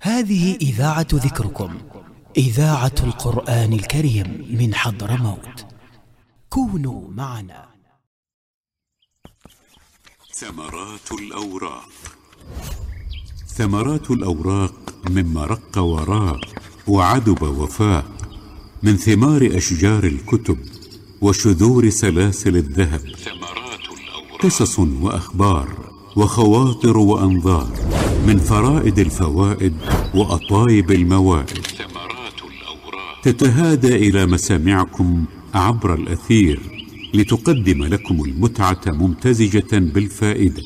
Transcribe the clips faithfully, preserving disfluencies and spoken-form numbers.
هذه إذاعة ذكركم، إذاعة القرآن الكريم من حضرموت. كونوا معنا. ثمرات الأوراق. ثمرات الأوراق مما رق وراق وعدب وفاق، من ثمار أشجار الكتب وشذور سلاسل الذهب. ثمرات الأوراق قصص وأخبار وخواطر وأنظار، من فرائد الفوائد وأطايب الموائد. ثمرات الأوراق تتهادى إلى مسامعكم عبر الأثير، لتقدم لكم المتعة ممتزجة بالفائدة،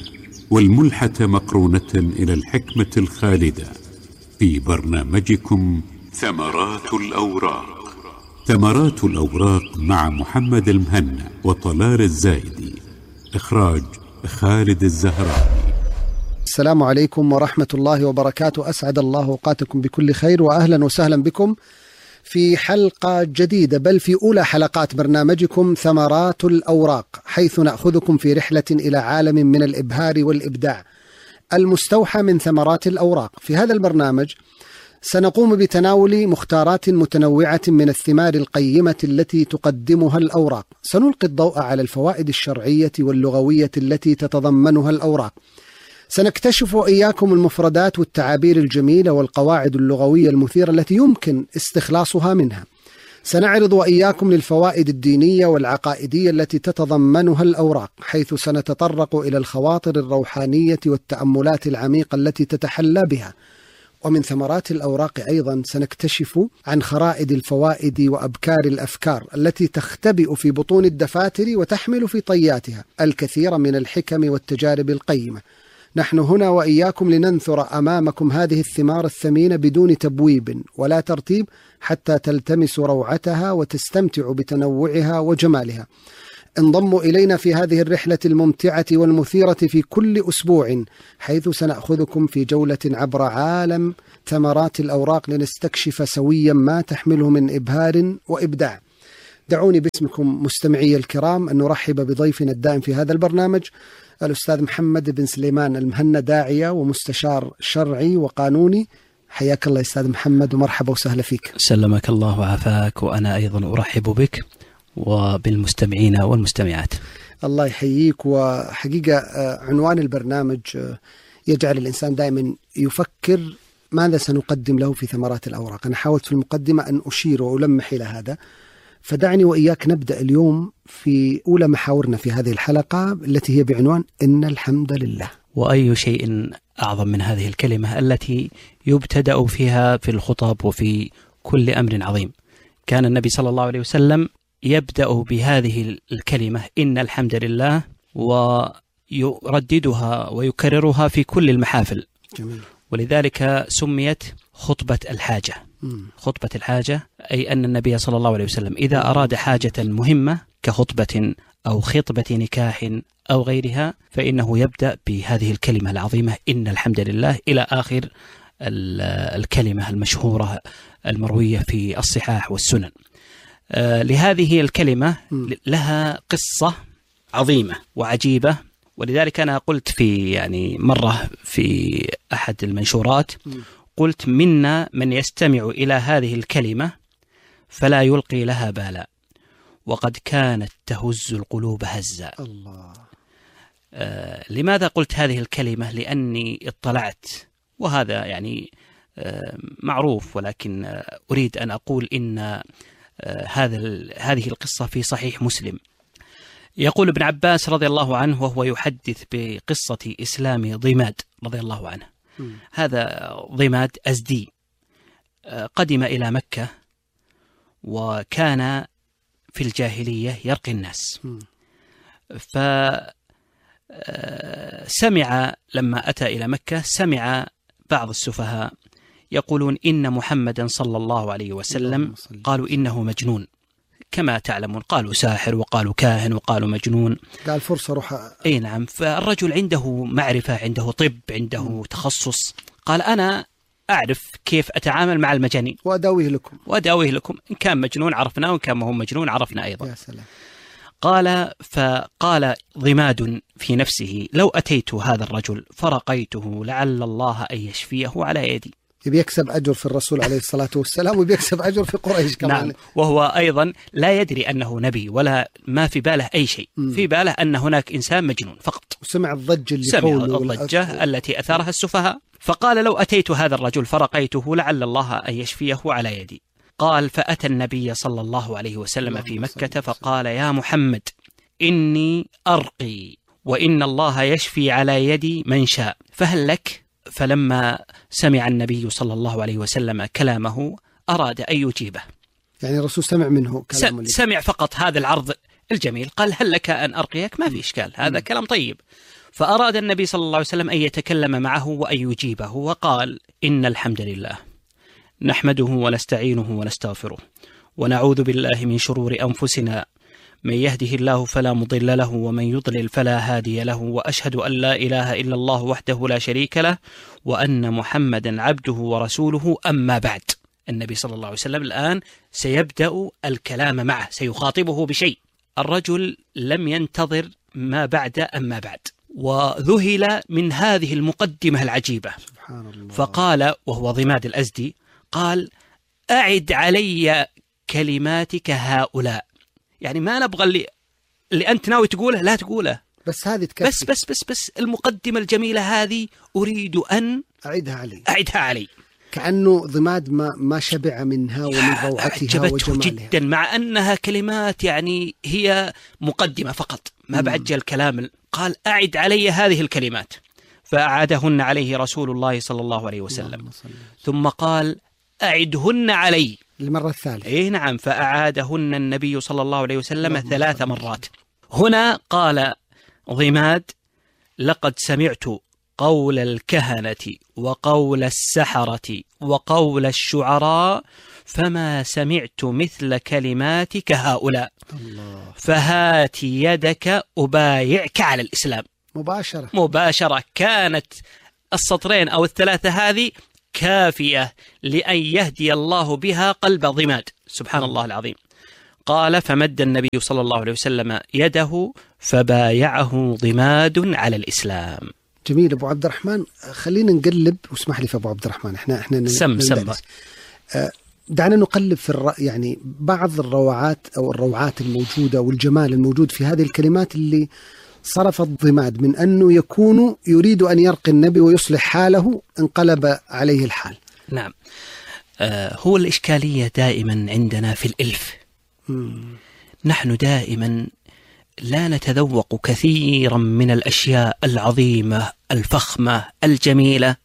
والملحة مقرونة إلى الحكمة الخالدة، في برنامجكم ثمرات الأوراق. ثمرات الأوراق مع محمد المهنا وطلال الزايدي. إخراج خالد الزهراني. السلام عليكم ورحمة الله وبركاته. أسعد الله أوقاتكم بكل خير، وأهلا وسهلا بكم في حلقة جديدة، بل في أولى حلقات برنامجكم ثمرات الأوراق، حيث نأخذكم في رحلة إلى عالم من الإبهار والإبداع المستوحى من ثمرات الأوراق. في هذا البرنامج سنقوم بتناول مختارات متنوعة من الثمار القيمة التي تقدمها الأوراق. سنلقي الضوء على الفوائد الشرعية واللغوية التي تتضمنها الأوراق. سنكتشف إياكم المفردات والتعابير الجميلة والقواعد اللغوية المثيرة التي يمكن استخلاصها منها. سنعرض وإياكم للفوائد الدينية والعقائدية التي تتضمنها الأوراق، حيث سنتطرق إلى الخواطر الروحانية والتأملات العميقة التي تتحلى بها. ومن ثمرات الأوراق أيضا سنكتشف عن خرائد الفوائد وأبكار الأفكار التي تختبئ في بطون الدفاتر وتحمل في طياتها الكثير من الحكم والتجارب القيمة. نحن هنا وإياكم لننثر أمامكم هذه الثمار الثمينة بدون تبويب ولا ترتيب، حتى تلتمسوا روعتها وتستمتعوا بتنوعها وجمالها. انضموا إلينا في هذه الرحلة الممتعة والمثيرة في كل أسبوع، حيث سنأخذكم في جولة عبر عالم ثمرات الأوراق لنستكشف سويا ما تحمله من إبهار وإبداع. دعوني باسمكم مستمعي الكرام أن نرحب بضيفنا الدائم في هذا البرنامج، الأستاذ محمد بن سليمان المهنا، داعية ومستشار شرعي وقانوني. حياك الله أستاذ محمد ومرحبا وسهلا فيك. سلمك الله وعافاك، وأنا أيضا أرحب بك وبالمستمعين والمستمعات. الله يحييك. وحقيقة عنوان البرنامج يجعل الإنسان دائما يفكر ماذا سنقدم له في ثمرات الأوراق. أنا حاولت في المقدمة أن أشير وألمح إلى هذا، فدعني وإياك نبدأ اليوم في أولى محاورنا في هذه الحلقة التي هي بعنوان إن الحمد لله. وأي شيء أعظم من هذه الكلمة التي يبتدأ فيها في الخطب وفي كل أمر عظيم. كان النبي صلى الله عليه وسلم يبدأ بهذه الكلمة إن الحمد لله، ويرددها ويكررها في كل المحافل. جميل. ولذلك سميت خطبة الحاجة. مم. خطبة الحاجة أي أن النبي صلى الله عليه وسلم إذا أراد حاجة مهمة كخطبة أو خطبة نكاح أو غيرها، فإنه يبدأ بهذه الكلمة العظيمة إن الحمد لله إلى آخر الكلمة المشهورة المروية في الصحاح والسنن. آه لهذه الكلمة لها قصة عظيمة وعجيبة، ولذلك أنا قلت في يعني مرة في أحد المنشورات، قلت منا من يستمع إلى هذه الكلمة فلا يلقي لها بالا، وقد كانت تهز القلوب هزا. الله. آه لماذا قلت هذه الكلمة؟ لأني اطلعت، وهذا يعني آه معروف، ولكن آه أريد أن أقول إن آه هذا هذه القصة في صحيح مسلم. يقول ابن عباس رضي الله عنه وهو يحدث بقصة إسلام ضماد رضي الله عنه. م. هذا ضماد أزدي قدم إلى مكة، وكان في الجاهلية يرقي الناس. م. فسمع لما أتى إلى مكة سمع بعض السفهاء يقولون إن محمدا صلى الله عليه وسلم قالوا إنه مجنون، كما تعلمون قالوا ساحر وقالوا كاهن وقالوا مجنون. قال فرصة روح. أي نعم. فالرجل عنده معرفة، عنده طب، عنده م. تخصص. قال أنا أعرف كيف أتعامل مع المجانين وأداويه لكم وأداويه لكم إن كان مجنون عرفنا، وإن كان ما هو مجنون عرفنا أيضا. يا سلام. قال فقال ضماد في نفسه لو أتيت هذا الرجل فرقيته لعل الله أن يشفيه على يدي. يبي يكسب أجر في الرسول عليه الصلاة والسلام ويبي يكسب أجر في قريش كمان. نعم. وهو أيضا لا يدري أنه نبي ولا ما في باله أي شيء. م. في باله أن هناك إنسان مجنون فقط. وسمع الضجة اللي سمع الضجة والأ... التي أثارها السفهاء، فقال لو أتيت هذا الرجل فرقيته لعل الله أن يشفيه على يدي. قال فأتى النبي صلى الله عليه وسلم في مكة فقال يا محمد إني أرقي وإن الله يشفي على يدي من شاء فهل لك؟ فلما سمع النبي صلى الله عليه وسلم كلامه أراد أن يجيبه. يعني الرسول سمع منه كلام سمع فقط هذا العرض الجميل، قال هل لك أن أرقيك؟ ما في إشكال، هذا م. كلام طيب. فأراد النبي صلى الله عليه وسلم أن يتكلم معه وأن يجيبه، وقال إن الحمد لله نحمده ونستعينه ونستغفره ونعوذ بالله من شرور أنفسنا من يهده الله فلا مضل له ومن يضلل فلا هادي له، وأشهد أن لا إله إلا الله وحده لا شريك له وأن محمدا عبده ورسوله. أما بعد، النبي صلى الله عليه وسلم الآن سيبدأ الكلام معه، سيخاطبه بشيء. الرجل لم ينتظر ما بعد أما بعد، وذهل من هذه المقدمة العجيبة. سبحان الله. فقال وهو ضماد الأزدي قال أعد علي كلماتك هؤلاء، يعني ما نبغى اللي, اللي أنت ناوي تقوله لا تقوله، بس هذه تكفي، بس بس بس بس المقدمة الجميلة هذه أريد أن أعيدها علي أعيدها علي. كأنه ضماد ما ما شبع منها ومن روعتها وجمالها جدا، مع أنها كلمات يعني هي مقدمة فقط، ما بعد الكلام. قال أعد علي هذه الكلمات، فأعادهن عليه رسول الله صلى الله عليه وسلم، ثم قال أعدهن علي المرة الثالثة. إيه نعم، فأعادهن النبي صلى الله عليه وسلم ثلاث مرات. هنا قال ضماد لقد سمعت قول الكهنة وقول السحرة وقول الشعراء فما سمعت مثل كلماتك هؤلاء، الله. فهات يدك أبايعك على الإسلام. مباشرة مباشرة. كانت السطرين أو الثلاثة هذه كافية لأن يهدي الله بها قلب ضماد. سبحان الله العظيم. قال فمد النبي صلى الله عليه وسلم يده فبايعه ضماد على الإسلام. جميل أبو عبد الرحمن، خلينا نقلب، واسمح لي في أبو عبد الرحمن، احنا احنا سم سم دعنا نقلب في الر... يعني بعض الروعات أو الروعات الموجودة والجمال الموجود في هذه الكلمات اللي صرف الضماد من أنه يكون يريد أن يرقي النبي ويصلح حاله انقلب عليه الحال. نعم. آه هو الإشكالية دائما عندنا في الإلف. مم. نحن دائما لا نتذوق كثيرا من الأشياء العظيمة الفخمة الجميلة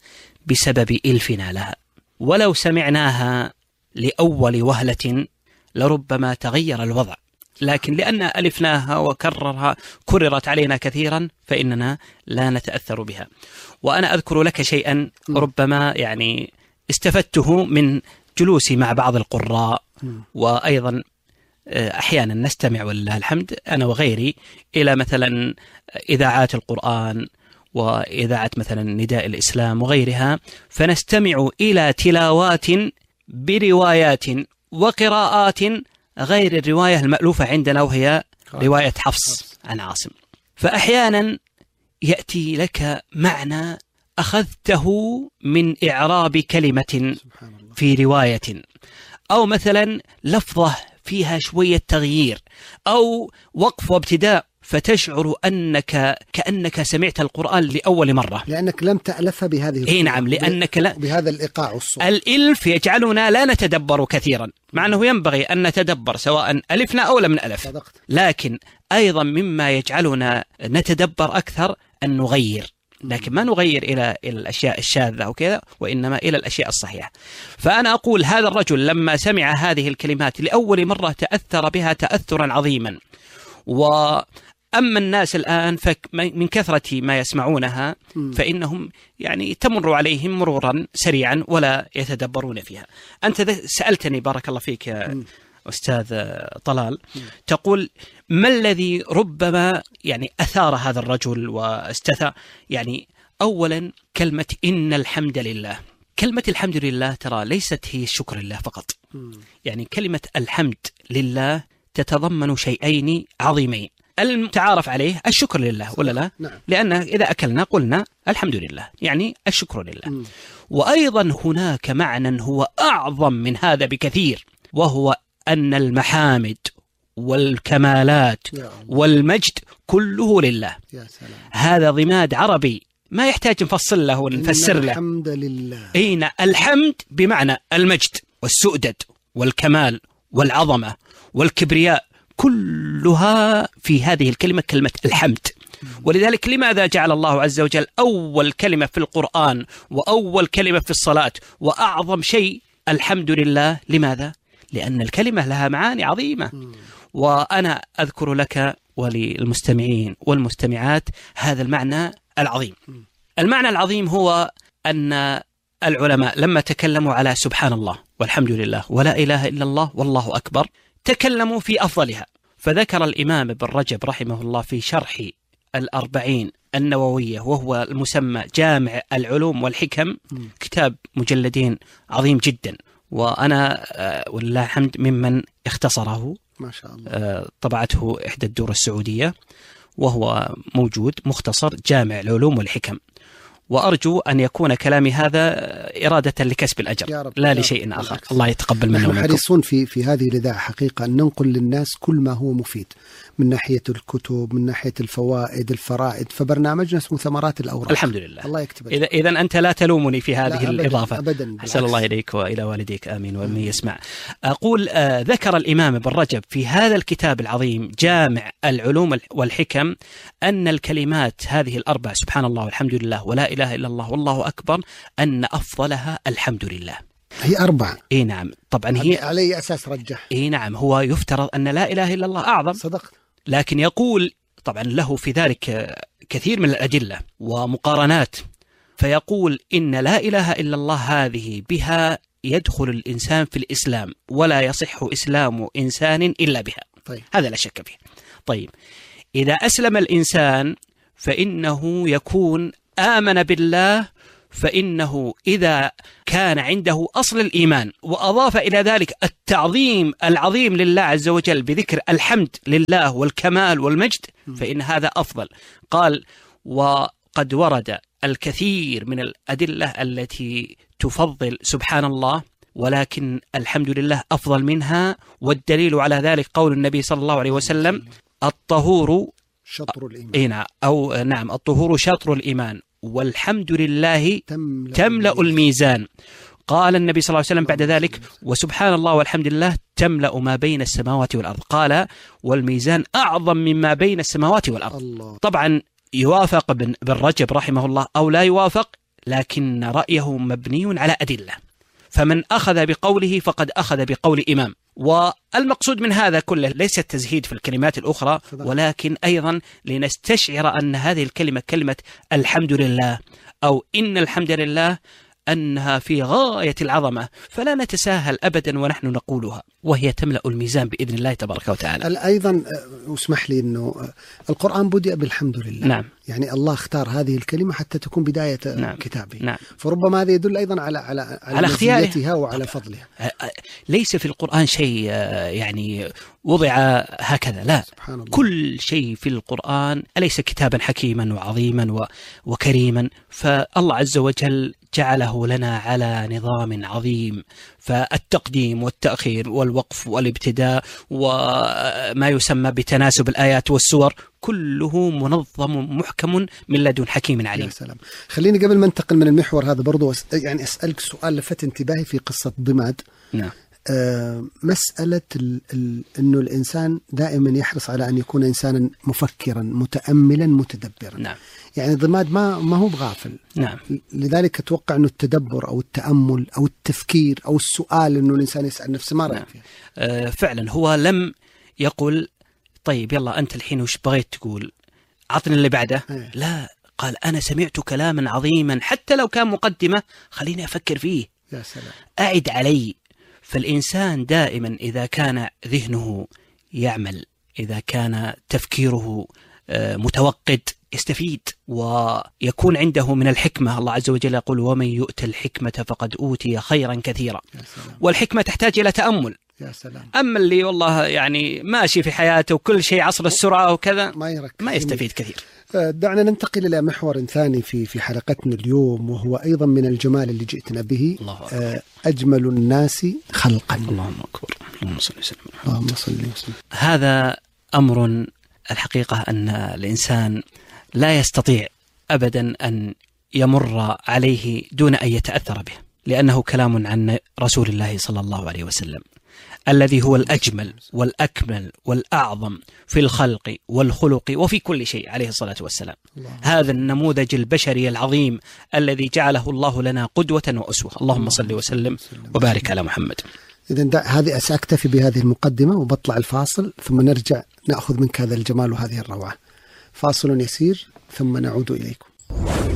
بسبب إلفنا لها، ولو سمعناها لأول وهلة لربما تغير الوضع، لكن لأن ألفناها وكررها كررت علينا كثيرا فإننا لا نتأثر بها. وأنا أذكر لك شيئا ربما يعني استفدته من جلوسي مع بعض القراء، وأيضا أحيانا نستمع ولله الحمد أنا وغيري إلى مثلا إذاعات القرآن وإذاعة مثلا نداء الإسلام وغيرها، فنستمع إلى تلاوات بروايات وقراءات غير الرواية المألوفة عندنا وهي رواية حفص عن عاصم. فأحيانا يأتي لك معنى أخذته من إعراب كلمة في رواية، أو مثلا لفظة فيها شوية تغيير أو وقف وابتداء، فتشعر أنك كأنك سمعت القرآن لأول مرة لأنك لم تألفها بهذه الصورة. إيه نعم، لأنك لا بهذا الإيقاع والصوت. الإلف يجعلنا لا نتدبر كثيرا، مع أنه ينبغي أن نتدبر سواء ألفنا أو لم نألف. صدقت. لكن أيضا مما يجعلنا نتدبر أكثر أن نغير، لكن ما نغير إلى الأشياء الشاذة وكذا، وإنما إلى الأشياء الصحيحة. فأنا أقول هذا الرجل لما سمع هذه الكلمات لأول مرة تأثر بها تأثرا عظيما. وأما الناس الآن من كثرة ما يسمعونها فإنهم يعني تمر عليهم مرورا سريعا ولا يتدبرون فيها. أنت سألتني بارك الله فيك يا أستاذ طلال، تقول ما الذي ربما يعني أثار هذا الرجل واستثار؟ يعني أولا كلمة إن الحمد لله. كلمة الحمد لله ترى ليست هي الشكر لله فقط، يعني كلمة الحمد لله تتضمن شيئين عظيمين. المتعارف عليه الشكر لله ولا لا؟ نعم. لأن إذا أكلنا قلنا الحمد لله، يعني الشكر لله. م. وأيضا هناك معنى هو أعظم من هذا بكثير، وهو أن المحامد والكمالات والمجد كله لله. يا سلام. هذا ضماد عربي ما يحتاج نفصل له ونفسر له. الحمد لله. أين الحمد بمعنى المجد والسؤدد والكمال والعظمة والكبرياء، كلها في هذه الكلمة كلمة الحمد. ولذلك لماذا جعل الله عز وجل أول كلمة في القرآن وأول كلمة في الصلاة وأعظم شيء الحمد لله؟ لماذا؟ لأن الكلمة لها معاني عظيمة. وأنا أذكر لك وللمستمعين والمستمعات هذا المعنى العظيم. المعنى العظيم هو أن العلماء لما تكلموا على سبحان الله والحمد لله ولا إله إلا الله والله أكبر، تكلموا في أفضلها. فذكر الإمام ابن رجب رحمه الله في شرح الأربعين النووية، وهو المسمى جامع العلوم والحكم، كتاب مجلدين عظيم جدا، وأنا ولله الحمد ممن اختصره ما شاء الله. طبعته إحدى الدور السعودية، وهو موجود مختصر جامع العلوم والحكم. وأرجو أن يكون كلامي هذا إرادة لكسب الأجر لا لشيء آخر. الله يتقبل منه. نحن حريصون في في هذه الإذاعة حقيقة أن ننقل للناس كل ما هو مفيد من ناحية الكتب، من ناحية الفوائد، الفرائد. فبرنامجنا اسمه ثمرات الأوراق. الحمد لله. الله يكتب. إذا إذا أنت لا تلومني في هذه أبداً الإضافة. أبداً. أحسن الله إليك وإلى والديك، آمين ومن يسمع. أقول آه ذكر الإمام ابن رجب في هذا الكتاب العظيم جامع العلوم والحكم أن الكلمات هذه الأربع سبحان الله والحمد لله ولا إله إلا الله والله أكبر أن أفضلها الحمد لله. هي أربعة. إيه نعم طبعا. هي على أي أساس رجح؟ إيه نعم، هو يفترض أن لا إله إلا الله أعظم. صدقت. لكن يقول طبعا له في ذلك كثير من الأدلة ومقارنات، فيقول إن لا إله إلا الله هذه بها يدخل الإنسان في الإسلام، ولا يصح إسلام إنسان إلا بها. طيب. هذا لا شك فيه. طيب، إذا أسلم الإنسان فإنه يكون آمن بالله، فإنه إذا كان عنده أصل الإيمان وأضاف إلى ذلك التعظيم العظيم لله عز وجل بذكر الحمد لله والكمال والمجد، فإن هذا أفضل. قال: وقد ورد الكثير من الأدلة التي تفضل سبحان الله، ولكن الحمد لله أفضل منها. والدليل على ذلك قول النبي صلى الله عليه وسلم: الطهور شطر الإيمان. أو نعم الطهور شطر الإيمان والحمد لله تملأ, تملأ الميزان. قال النبي صلى الله عليه وسلم بعد ذلك: وسبحان الله والحمد لله تملأ ما بين السماوات والأرض. قال: والميزان أعظم مما بين السماوات والأرض. الله. طبعا يوافق ابن رجب رحمه الله أو لا يوافق، لكن رأيه مبني على أدلة، فمن أخذ بقوله فقد أخذ بقول إمام. والمقصود من هذا كله ليس التزهيد في الكلمات الأخرى، ولكن أيضا لنستشعر أن هذه الكلمة كلمة الحمد لله أو إن الحمد لله أنها في غاية العظمة، فلا نتساهل أبدا ونحن نقولها، وهي تملأ الميزان بإذن الله تبارك وتعالى. أيضا اسمح لي أنه القرآن بدأ بالحمد لله. نعم. يعني الله اختار هذه الكلمة حتى تكون بداية نعم. كتابه. نعم. فربما هذا يدل أيضا على على على, على اختيارها وعلى فضلها. ليس في القرآن شيء يعني وضع هكذا، لا، سبحان الله. كل شيء في القرآن أليس كتابا حكيما وعظيما وكريما؟ فالله عز وجل جعله لنا على نظام عظيم، فالتقديم والتأخير والوقف والابتداء وما يسمى بتناسب الآيات والسور كله منظم محكم من لدن حكيم عليم. يا سلام. خليني قبل ما ننتقل من المحور هذا برضو يعني أسألك سؤال لفت انتباهي في قصة ضماد. نعم. آه مسألة ال ال إنه الإنسان دائما يحرص على أن يكون إنسانا مفكرا متأملا متدبرا. نعم. يعني ضماد ما ما هو بغافل. نعم. لذلك أتوقع إنه التدبر أو التأمل أو التفكير أو السؤال إنه الإنسان يسأل نفسه ما رأيك نعم. فيه؟ آه فعلا هو لم يقل طيب يلا أنت الحين وش بغيت تقول، عطني اللي بعده. أيه. لا، قال أنا سمعت كلاما عظيما حتى لو كان مقدمة خليني أفكر فيه. يا سلام. أعد علي. فالإنسان دائما إذا كان ذهنه يعمل، إذا كان تفكيره متوقد يستفيد ويكون عنده من الحكمة. الله عز وجل يقول: ومن يؤت الحكمة فقد أوتي خيرا كثيرا. والحكمة تحتاج إلى تأمل، يا سلام. أما اللي والله يعني ماشي في حياته وكل شيء عصر السرعة وكذا ما يركز، ما يستفيد كثير. دعنا ننتقل إلى محور ثاني في في حلقتنا اليوم، وهو أيضا من الجمال اللي جئتنا به. أجمل الناس خلقا. اللهم أكبر. اللهم صل وسلم. اللهم صل وسلم. هذا أمر الحقيقة أن الإنسان لا يستطيع أبدا أن يمر عليه دون أن يتأثر به، لأنه كلام عن رسول الله صلى الله عليه وسلم الذي هو الأجمل والأكمل والأعظم في الخلق والخلق وفي كل شيء عليه الصلاة والسلام. هذا النموذج البشري العظيم الذي جعله الله لنا قدوة وأسوة. اللهم صل وسلم وبارك على محمد. إذن هذه سأكتفي بهذه المقدمة وبطلع الفاصل، ثم نرجع نأخذ منك هذا الجمال وهذه الروعة. فاصل يسير ثم نعود إليكم.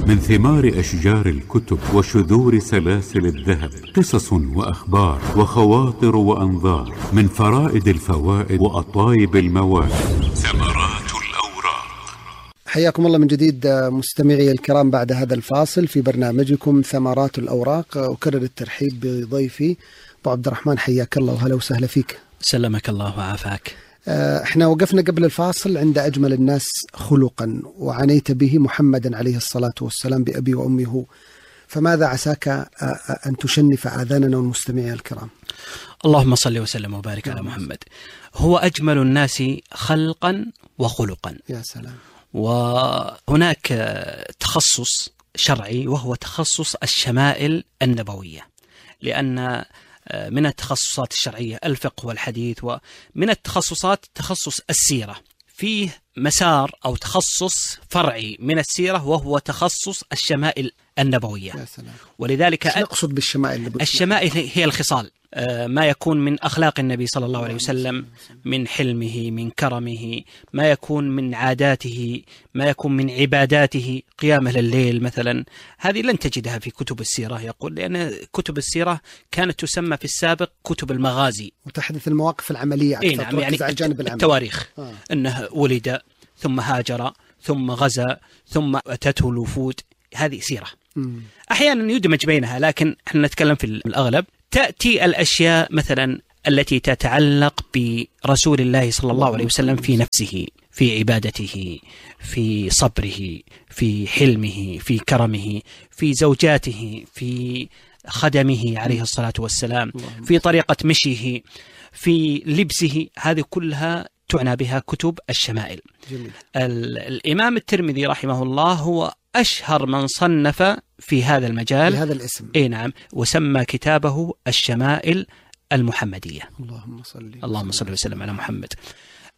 من ثمار أشجار الكتب وشذور سلاسل الذهب قصص وأخبار وخواطر وأنظار، من فرائد الفوائد وأطايب المواد. ثمرات الأوراق. حياكم الله من جديد مستمعي الكرام بعد هذا الفاصل في برنامجكم ثمرات الأوراق. أكرر الترحيب بضيفي أبو عبد الرحمن، حياك الله وهلا وسهلا فيك. سلمك الله وعافاك. احنا وقفنا قبل الفاصل عند أجمل الناس خلقا، وعنيت به محمدا عليه الصلاة والسلام بأبي وأمي هو، فماذا عساك أن تشنف آذاننا والمستمعين الكرام؟ اللهم صل وسلم وبارك على محمد. هو أجمل الناس خلقا وخلقا. يا سلام. وهناك تخصص شرعي وهو تخصص الشمائل النبوية، لأن من التخصصات الشرعية الفقه والحديث، ومن التخصصات تخصص السيرة. فيه مسار أو تخصص فرعي من السيرة وهو تخصص الشمائل النبوية. يا سلام. ولذلك ايش نقصد بالشمائل النبوية؟ الشمائل هي الخصال، ما يكون من أخلاق النبي صلى الله عليه وسلم، من حلمه، من كرمه، ما يكون من عاداته، ما يكون من عباداته، قيامه الليل مثلا. هذه لن تجدها في كتب السيرة، يقول، لأن كتب السيرة كانت تسمى في السابق كتب المغازي، وتحدث المواقف العملية أكثر. إيه نعم، يعني على الجانب العملي. التواريخ. آه. أنه ولد ثم هاجر ثم غزا ثم أتته الوفود، هذه سيرة. مم. أحيانا يدمج بينها، لكن احنا نتكلم في الأغلب. تأتي الأشياء مثلا التي تتعلق برسول الله صلى الله عليه وسلم في نفسه، في عبادته، في صبره، في حلمه، في كرمه، في زوجاته، في خدمه عليه الصلاة والسلام، في طريقة مشيه، في لبسه. هذه كلها تعنى بها كتب الشمائل. جميل. الإمام الترمذي رحمه الله هو أشهر من صنف في هذا المجال بهذا الاسم. إيه نعم، وسمى كتابه الشمائل المحمدية. اللهم صل اللهم صل وسلم على محمد.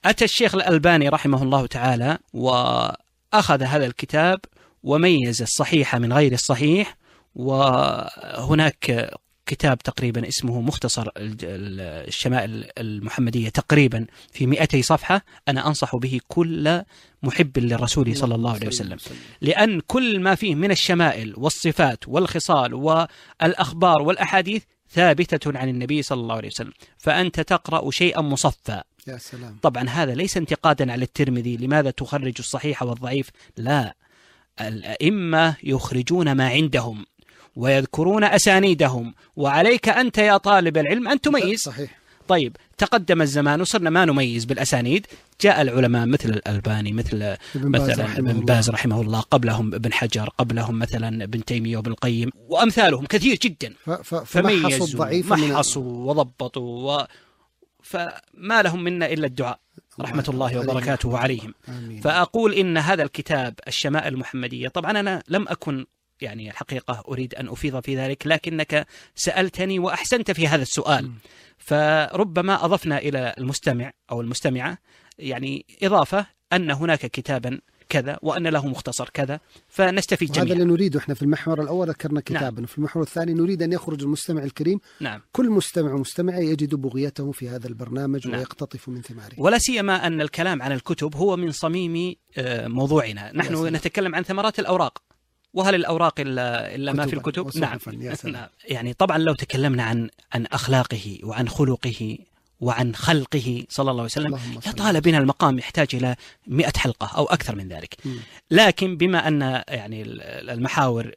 أتى الشيخ الألباني رحمه الله تعالى وأخذ هذا الكتاب وميز الصحيح من غير الصحيح، وهناك كتاب تقريبا اسمه مختصر الشمائل المحمدية تقريبا في مئتي صفحة. أنا أنصح به كل محب للرسول صلى الله عليه وسلم، لأن كل ما فيه من الشمائل والصفات والخصال والأخبار والأحاديث ثابتة عن النبي صلى الله عليه وسلم، فأنت تقرأ شيئا مصفى. يا سلام. طبعا هذا ليس انتقادا على الترمذي لماذا تخرج الصحيح والضعيف، لا، الأئمة يخرجون ما عندهم ويذكرون أسانيدهم، وعليك أنت يا طالب العلم أن تميز. صحيح. طيب تقدم الزمان وصرنا ما نميز بالأسانيد، جاء العلماء مثل الألباني، مثل مثلا ابن باز رحمه الله، قبلهم ابن حجر، قبلهم مثلا ابن تيمية وابن القيم وأمثالهم كثير جدا، فميزوا محصوا وضبطوا و... فما لهم منا إلا الدعاء رحمة الله وبركاته عليهم. آمين. فأقول إن هذا الكتاب الشمائل المحمدية، طبعا أنا لم أكن يعني الحقيقة أريد أن أفيض في ذلك، لكنك سألتني وأحسنت في هذا السؤال، م. فربما أضفنا إلى المستمع أو المستمعة يعني إضافة أن هناك كتابا كذا وأن له مختصر كذا، فنستفيد جميعا. هذا اللي نريده احنا. في المحور الأول ذكرنا كتابا، نعم. وفي المحور الثاني نريد أن يخرج المستمع الكريم، نعم. كل مستمع ومستمع يجد بغيته في هذا البرنامج، نعم. ويقتطف من ثماره. ولا سيما أن الكلام عن الكتب هو من صميم موضوعنا. نحن نتكلم عن ثمرات الأوراق، وهل الأوراق إلا, إلا ما في الكتب؟ نعم. نعم. يعني طبعا لو تكلمنا عن عن أخلاقه وعن خلقه وعن خلقه صلى الله عليه وسلم يطال بنا المقام، يحتاج إلى مئة حلقة أو أكثر من ذلك. م. لكن بما أن يعني المحاور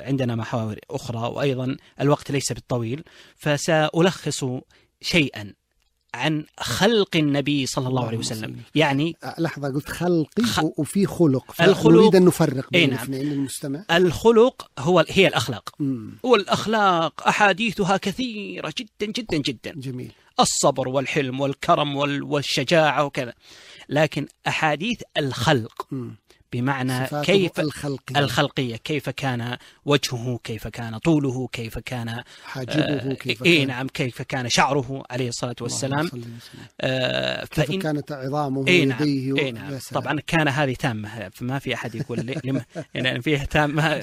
عندنا محاور أخرى، وأيضا الوقت ليس بالطويل، فسألخص شيئا عن خلق النبي صلى الله عليه وسلم، يعني لحظة قلت خلقي خ... وفي خلق، الخلق نريد أن نفرق بين نعم. الاثنين للمستمع. الخلق هو هي الأخلاق، مم. والأخلاق أحاديثها كثيرة جدا جدا جدا. جميل. الصبر والحلم والكرم والشجاعة وكذا، لكن أحاديث الخلق مم. بمعنى كيف الخلقية. الخلقية، كيف كان وجهه، كيف كان طوله، كيف كان حاجبه، كيف كان إيه نعم كيف كان شعره عليه الصلاة والسلام، آه كيف فإن كانت عظامه إيه نعم ويديه إيه نعم طبعا كان هذه تامة، فما في أحد يقول لما يعني فيها تامة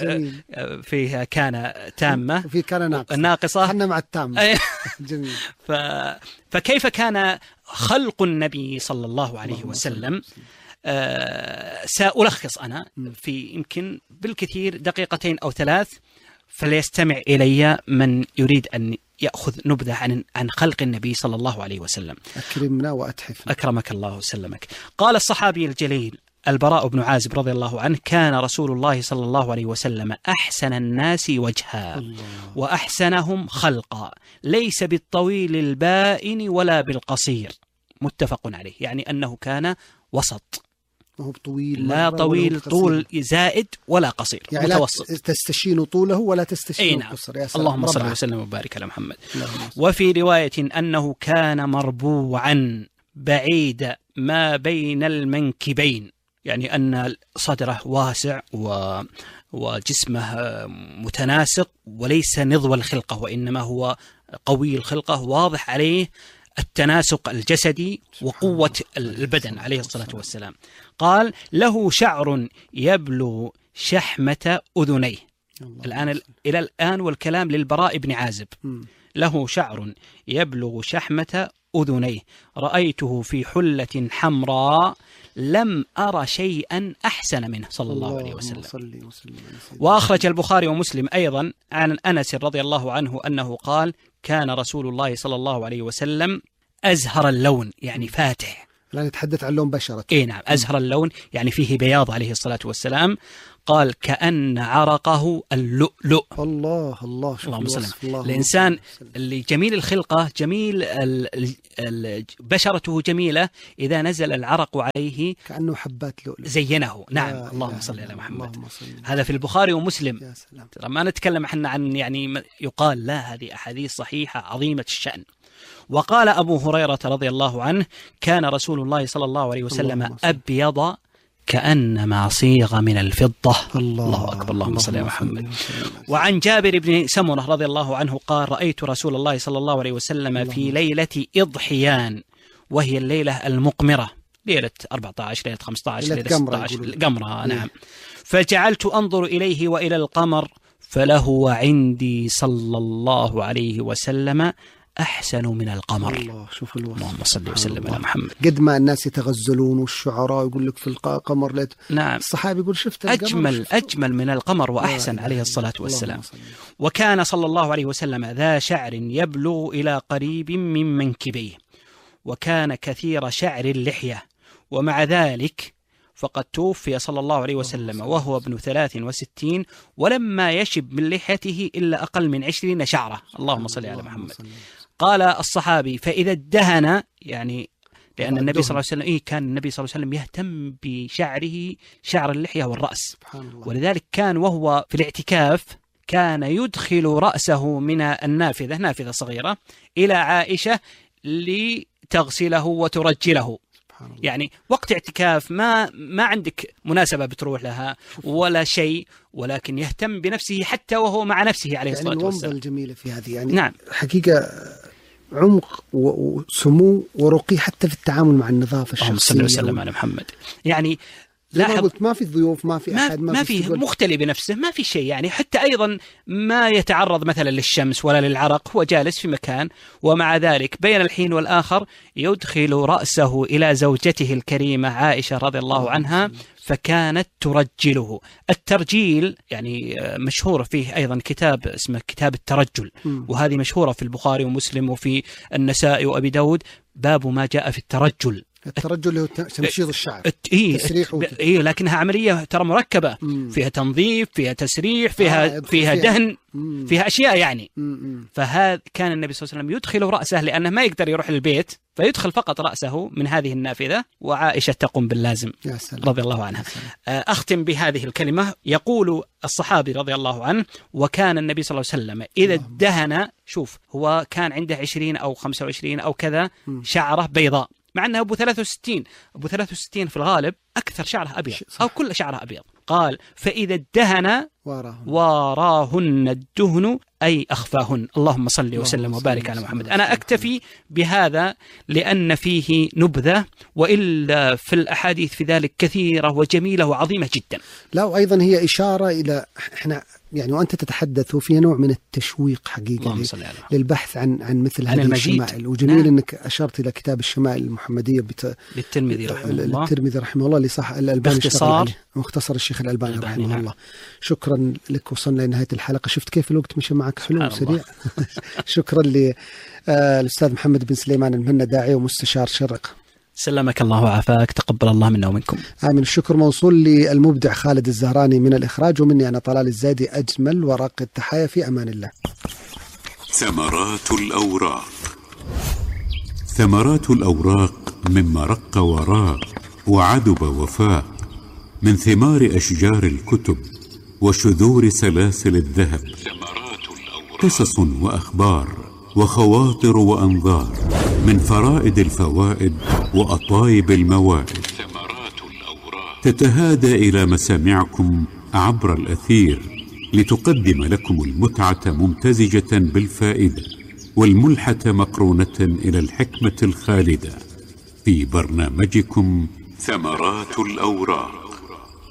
فيها كان تامة وفي كان ناقصة ناقصة احنا مع التامة. جميل. ف... فكيف كان خلق النبي صلى الله عليه وسلم. آه سألخص أنا في يمكن بالكثير دقيقتين أو ثلاث، فليستمع إلي من يريد أن يأخذ نبذة عن عن خلق النبي صلى الله عليه وسلم. أكرمنا وأتحفنا. أكرمك الله وسلمك. قال الصحابي الجليل البراء بن عازب رضي الله عنه: كان رسول الله صلى الله عليه وسلم أحسن الناس وجها الله. وأحسنهم خلقا، ليس بالطويل البائن ولا بالقصير، متفق عليه، يعني أنه كان وسط، هو طويل لا طويل طول زائد ولا قصير، يعني متوسط، لا تستشين طوله ولا تستشين قصر. يا سلام. اللهم صل وسلم وبارك على محمد. وفي رواية أنه كان مربوعا بعيد ما بين المنكبين، يعني أن صدره واسع و وجسمه متناسق وليس نضوى الخلقة، وإنما هو قوي الخلقة، واضح عليه التناسق الجسدي وقوة البدن عليه الصلاة والسلام. قال: له شعر يبلغ شحمة أذنيه. الآن إلى الآن والكلام للبراء بن عازب. له شعر يبلغ شحمة أذنيه، رأيته في حلة حمراء لم أرى شيئا أحسن منه صلى الله عليه وسلم. وأخرج البخاري ومسلم أيضا عن أنس رضي الله عنه أنه قال: كان رسول الله صلى الله عليه وسلم أزهر اللون، يعني فاتح. لا نتحدث عن لون بشرته. إيه نعم، أزهر اللون يعني فيه بياض عليه الصلاة والسلام. قال: كأن عرقه اللؤلؤ. الله الله اللهم صل. الإنسان اللي جميل الخلقة، جميل ال ال بشرته جميلة، إذا نزل العرق عليه كأنه حبات لؤلؤ زينه. نعم. اللهم صل على محمد. هذا في البخاري ومسلم. يا سلام. ترى ما نتكلم احنا عن يعني يقال، لا، هذه أحاديث صحيحة عظيمة الشأن. وقال أبو هريرة رضي الله عنه: كان رسول الله صلى الله عليه وسلم أبيض كأنما صيغ من الفضة. الله, الله أكبر. اللهم صل على محمد. وعن جابر بن سمرة رضي الله عنه قال: رأيت رسول الله صلى الله عليه وسلم في ليلة إضحيان، وهي الليلة المقمرة، ليلة أربعة عشر، ليلة خمسة عشر، ليلة ستة عشر، قمرة. نعم. فجعلت أنظر إليه وإلى القمر، فله عندي صلى الله عليه وسلم أحسن من القمر. الله، شوف الوصف. اللهم صل وسلم على محمد. قد ما الناس يتغزلون والشعراء يقول لك في القمر ليت. نعم. الصحابي يقول شفت القمر، أجمل شفت أجمل من القمر وأحسن عليه الصلاة والسلام. وكان صلى الله عليه وسلم ذا شعر يبلغ إلى قريب من منكبيه، وكان كثير شعر اللحية، ومع ذلك فقد توفي صلى الله عليه وسلم وهو ابن ثلاث وستين، ولما يشب من لحيته إلا أقل من عشرين شعرة. اللهم صل على محمد. قال الصحابي: فإذا ادهن، يعني لأن النبي صلى الله عليه وسلم إيه كان النبي صلى الله عليه وسلم يهتم بشعره، شعر اللحية والرأس، ولذلك كان وهو في الاعتكاف كان يدخل رأسه من النافذة، نافذة صغيرة، إلى عائشة لتغسله وترجله. يعني وقت اعتكاف ما ما عندك مناسبة بتروح لها ولا شيء، ولكن يهتم بنفسه حتى وهو مع نفسه عليه الصلاة يعني والسلام. الومضة الجميلة في هذه، يعني نعم. حقيقة عمق وسمو ورقي حتى في التعامل مع النظافة الشخصية. اللهم صل وسلم على محمد. يعني لا قلت ما في ضيوف، ما في أحد، ما, ما في مختلي بنفسه، ما في شيء، يعني حتى أيضا ما يتعرض مثلا للشمس ولا للعرق، هو جالس في مكان، ومع ذلك بين الحين والآخر يدخل رأسه إلى زوجته الكريمة عائشة رضي الله عنها، فكانت ترجله. الترجيل يعني مشهور فيه أيضا كتاب اسمه كتاب الترجل، وهذه مشهورة في البخاري ومسلم وفي النسائي وأبي داود، باب ما جاء في الترجل. الترجل اللي هو تمشيط الشعر، إيه تسريح وت... إيه لكنها عملية ترى مركبة، مم. فيها تنظيف، فيها تسريح، فيها آه فيها دهن، مم. فيها أشياء يعني. مم. فهذا كان النبي صلى الله عليه وسلم يدخل رأسه لأنه ما يقدر يروح للبيت، فيدخل فقط رأسه من هذه النافذة، وعائشة تقوم باللازم رضي الله عنها. أختم بهذه الكلمة. يقول الصحابي رضي الله عنه: وكان النبي صلى الله عليه وسلم إذا ادهن، شوف هو كان عنده عشرين أو خمسة وعشرين أو كذا شعرة بيضاء، مع أنه أبو ثلاثة وستين، أبو ثلاثة وستين في الغالب أكثر شعره أبيض أو كل شعره أبيض. قال: فإذا ادهن واراهن الدهن أي أخفاهن. اللهم صل وسلم وبارك على محمد. أنا أكتفي بهذا لأن فيه نبذة، وإلا في الأحاديث في ذلك كثيرة وجميلة وعظيمة جدا. لا، وأيضا هي إشارة إلى إحنا يعني وأنت تتحدث وفي نوع من التشويق حقيقة للبحث عن عن مثل هذه الشمائل. وجميل نعم. أنك أشرت إلى كتاب الشمائل المحمدية بت... للترمذي رحمه الله للترمذي رحمه الله اللي صح الألباني باختصار مختصر الشيخ الألباني رحمه نعم. الله. شكرا لك، وصلنا لنهاية الحلقة. شفت كيف الوقت مشى معك حلو وسريع. شكرا للأستاذ محمد بن سليمان المهنا، داعية ومستشار شرق. سلمك الله وعافاك، تقبل الله منا ومنكم. آمين. الشكر موصول للمبدع خالد الزهراني من الإخراج، ومني أنا طلال الزايدي أجمل ورق التحايا. في أمان الله. ثمرات الأوراق. ثمرات الأوراق مما رق وراق وعدب وفاق، من ثمار أشجار الكتب وشذور سلاسل الذهب، قصص وأخبار وخواطر وأنظار، من فرائد الفوائد وأطايب الموائد، تتهادى إلى مسامعكم عبر الأثير لتقدم لكم المتعة ممتزجة بالفائدة، والملحة مقرونة إلى الحكمة الخالدة، في برنامجكم ثمرات الأوراق.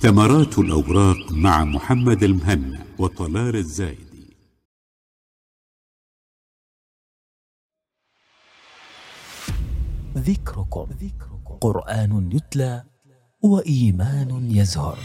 ثمرات الأوراق مع محمد المهنا وطلال الزايدي. ذكركم قرآن يتلى وإيمان يزهر.